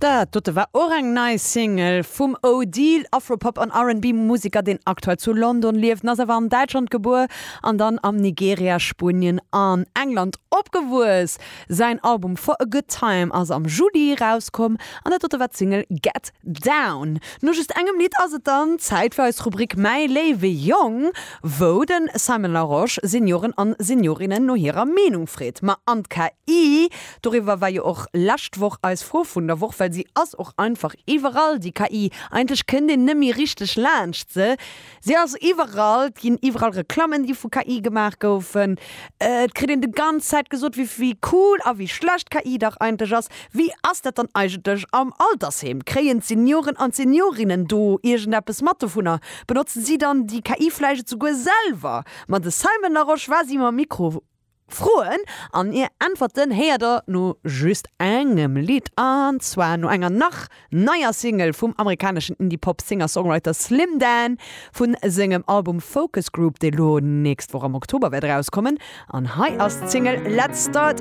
Dat dote war och eng nei Single vum Odile, Afropop an R&B Museker deen aktuell zu London lieft, en ass awer an Däitschland gebuer an dann am Nigeria, Spuenien an England opgewuess. Säin Album For a Good Time ass am Juli rauskomm an dat dote war d'Single Get Down. No just engem Lidd ass et dann Zäit fir eis Rubrik Mäi léiwe Jong, wou de Simon Larosche Senioren an Seniorinnen no hirer Meenung freet. Ma an d'KI Doriwwer war jo och lescht Woch eis Fro vun der Woch, well si ass och einfach iwwerall, déi KI. Eigentlech kënnt een net méi richteg laanscht se. Si ass iwwerall, et ginn iwwerall Reklammen, déi vu KI gemaach goufen. Et kritt een de ganz Zäit gesot, wéi wéi cool a wéi schlecht KI dach eigentlech ass. Wéi ass dat dann eigentlech am Altersheem? Kréien d'Senioren an d'Seniorinnen do iergendeppes mat dovunner? Benotzen si dann déi KI vläicht esouguer selwer? Ma de Simon Larosche war si mam Mikro Froen an hir Äntwerten héiert der no just engem Lidd, an zwar no enger nach neier Single vum amerikaneschen Indie-Pop Singer-Songwriter Slim Dan vu sengem Album Focus Group, dee lo nächst Woch am Oktober wäert erauskommen. An hei ass d'Single Let's Start.